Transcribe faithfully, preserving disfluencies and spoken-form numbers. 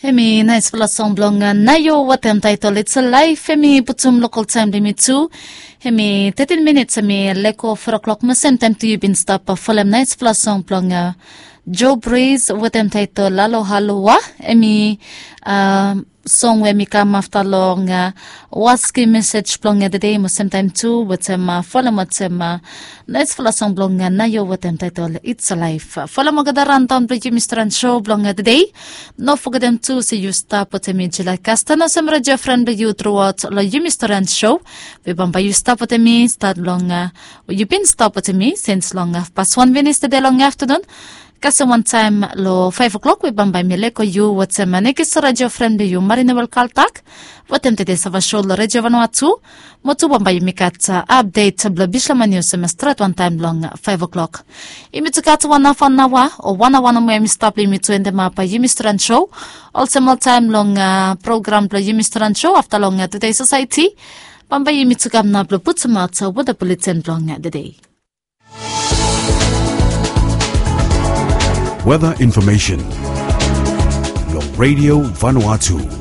Em i naispela song blong Nayo wetem taitol It's Alive. Em i putum lokal taem blong yumi tu. Em i tetin minits, em i leko fo klok, mo semtaem tu yu bin stap folem naispela song blong Joe Breeze wetem taitol Alo Haloa. Em i song we em i kam afta long waski mesej blong tede, mo semtaem tu wetem folem wetem naispela song blong Nayo wetem taitol It's Alive. Folem olgeta raontaon blong yumi Stren Show blong tede. No fogetem tu se yu stap wetem mi Julia Castan olsem redio fren blong yu truaot long yumi Stren Show, we bambae yu stap wetem mi stat long, yu bin stap wetem mi sins long hafpas wan minits tede long aftanun. Kasem wantaem long faef klok we bambae mi leko yu wetem nekis redio fren blong yu Marina Welkaltak wetem tede sava show long redio Vanua tu. Mo tu bambae yumi gat apdet blong bishlama nius em i stret wantaem long faef klok. Yumi tu gat wan hafa aoa o wan aoa nomo em i stap long yumi tu endemap yumi Stren Show. Olsem oltaem long program blong yumi Stren Show afta long Todei Sosaeti, bambae yumi tu kam nao blong putumaot weta buleten blong tede. Weta infomesen long redio Vanuatu.